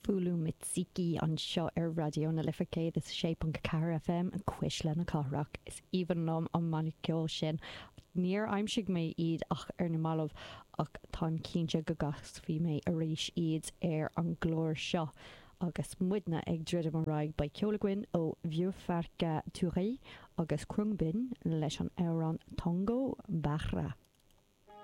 Fulu Miziki anseo ar Raidió na Life 106.4 FM, Cuisle na Cathrach. Is aoibhinn liom an mbanna ceoil sin. Níor aimsigh mé iad ach ar na mallaibh ach táim cinnte go gcasfaidh mé arís iad ar an gclár seo. Agus muidne ag druidim ar aghaidh beidh ceol againn ó Vieux Farka Touré agus Khruangbin leis an amhrán Tongo Bara.